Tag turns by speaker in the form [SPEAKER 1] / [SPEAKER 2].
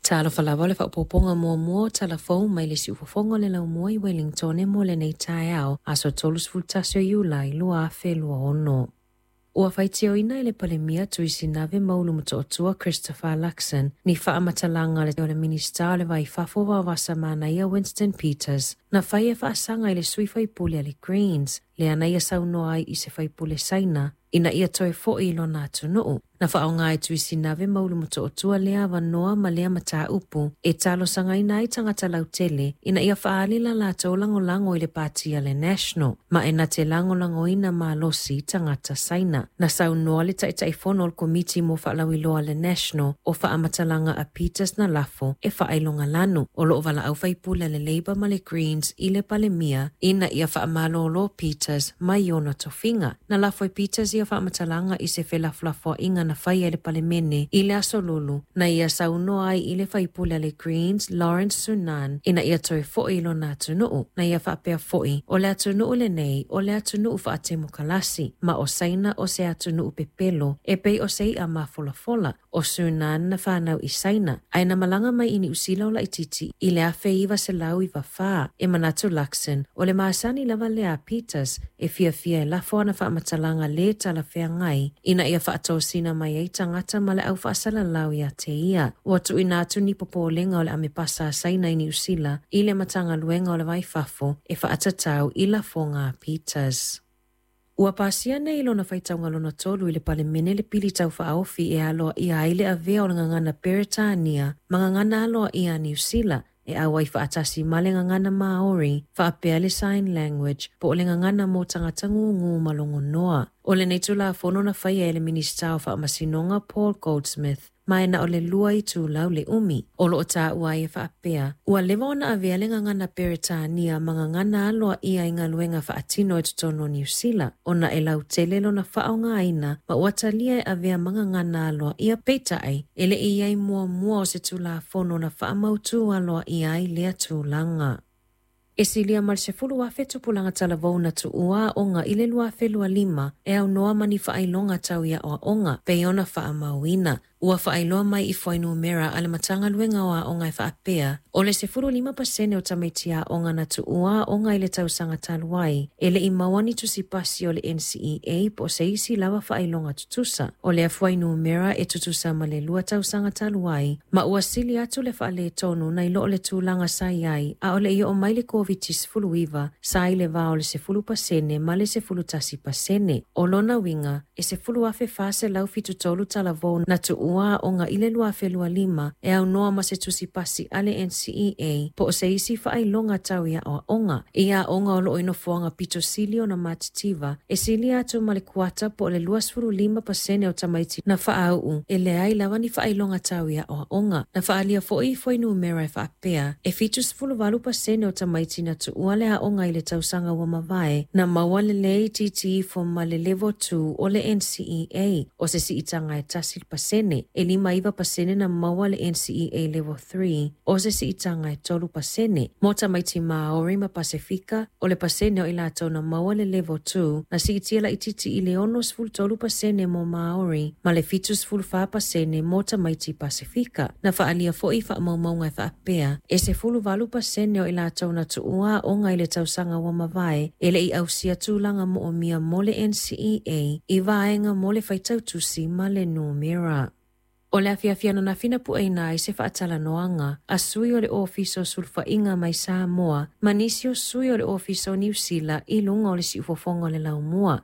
[SPEAKER 1] Talofa lava o le faaopoopoga muamua o tala fou mai le siufofoga o le laumua i Wellingtone mo lenei taeao, aso 31 o Iulai 2026. Ua faitioina e le Palemia Tuisinave ma Ulumotootua Christopher Luxon ni faamatalaga o le Minisita o le Va i Fafo Vaovasamanaia Winston Peters na fai e faasaga i le sui faipule a le Greens, lea na ia saunoa ai i se faipule Saina ina ia toe fo'i i lona atunuu. Na faaaoga e Tuisinave ma Ulumotootua lea avanoa ma lea mataupu e talosagaina ai tagata lautele ina ia faaali la latou lagolago i le pati a le National, ma e na te lagolagoina malosi tagata Saina. Na saunoa le Taitaifono o le Komiti mo Faalauiloa a le National o faamatalaga a Peters na lafo e faailogalanu. O loo valaau faipule a le Labour ma le Greens i le Palemia ina ia faamalōlō Peters mai ona tofiga. Na lafo e Peters ia faamatalaga i se felafolafoaiga na faia i le Palemene i le aso Lulu, na ia saunoa ai i le faipule a le Greens Lawrence Sunan ina ia toe fo'i i lona atunuu. Na ia faapea fo'i, o le atunuu lenei o le atunuu faatemokalasi, ma o Saina o se atunuu pepelo e pei o se i'a mafolafola. O Sunan na fanau i Saina, ae na malaga mai i Niu Sila o laitiiti i le 1994. E manatu Luxon, o le masani lava lea a Peters e fiafia e lafo ana faamatalaga lē talafeagai ina ia faatosina mai ai tagata ma le au faasalalau ia te ia. Ua tuuina atu ni popolega o le amepasa a Saina i Niu Sila i le Matagaluega o le Va i Fafo e faatatau i lafoga a Peters. Ua pasia nei i lona faitauga lona tolu i le Palemene le pili taufaaofi e aloaia ai le avea o le gagana Peretania ma gagana aloaia a Niu Sila e auai faatasi ma le gagana Maori faapea le sign language po o le gagana mo tagata gūgū ma logonoa. O lenei Tulafono na faia e le Minisita o Faamasinoga Paul Goldsmith, ma e na o le 2 itulau le umi. O loo taua ai e faapea, ua leva ona avea le gagana Peretania ma gagana aloaia i galuega faatino i totonu o Niu Sila, ona e lautele lona faaaogaina ma ua talia e avea ma gagana aloaia. Peitai, e le i ai muamua o se Tulafono na faamautū aloaia ai lea tulaga. E silia ma le 10,000 tupulaga talavou na tuua aoga i le 2025 e aunoa ma ni faailoga tau i aoaoga pei ona faamauina. Ua faailoa mai i fuainumera a le Matagaluega o Aoga e faapea, o le 15% o tamaiti aoga na tuua aoga i le tausaga talu ai, e le i maua ni tusipasi o le NCEA po o se isi lava faailoga tutusa. O lea fuainumera e tutusa ma le 2 tausaga talu ai, ma ua sili atu le faaletonu nai lo le tulaga sa i ai a o le i oo mai le Koviti-19, sa i le va o le 10% ma le 11%. O lona uiga, e 10,473 talavou na tuua aoga i le 2025 e aunoa ma se tusipasi a le NCEA po o se isi faailoga tau i aoaoga. I aoga o loo i nofoaga pito sili ona matitiva, e silia atu ma le kuata po o le 25% o tamaiti na faauu e leai lava ni faailoga tau i aoaoga. Na faaalia fo'i i fuainumera e faapea, e 78% o tamaiti na tuua le aoga i le tausaga ua mavae na maua le lē itiiti ifo ma le level 2 o le NCEA, o se siitaga e 1%. E 59% na maua le NCEA level 3, o se siitaga e 3%. Mo tamaiti Maori ma Pasefika, o le pasene o i latou na maua le level 2 na siitia laitiiti i le 63% mo Maori ma le 74% mo tamaiti Pasefika. Na faaalia fo'i faamaumauga e faapea, e 18% o i latou na tuua aoga i le tausaga ua mavae e le i ausia tulaga moomia mo le NCEA i vaega mo le faitautusi ma le numera. O le afiafi ananafi na pueina ai se faatalanoaga a sui o le Ofisa o Sulufaiga mai Samoa ma nisi o sui o le Ofisa o Niu Sila i luga o le siufofoga o le laumua.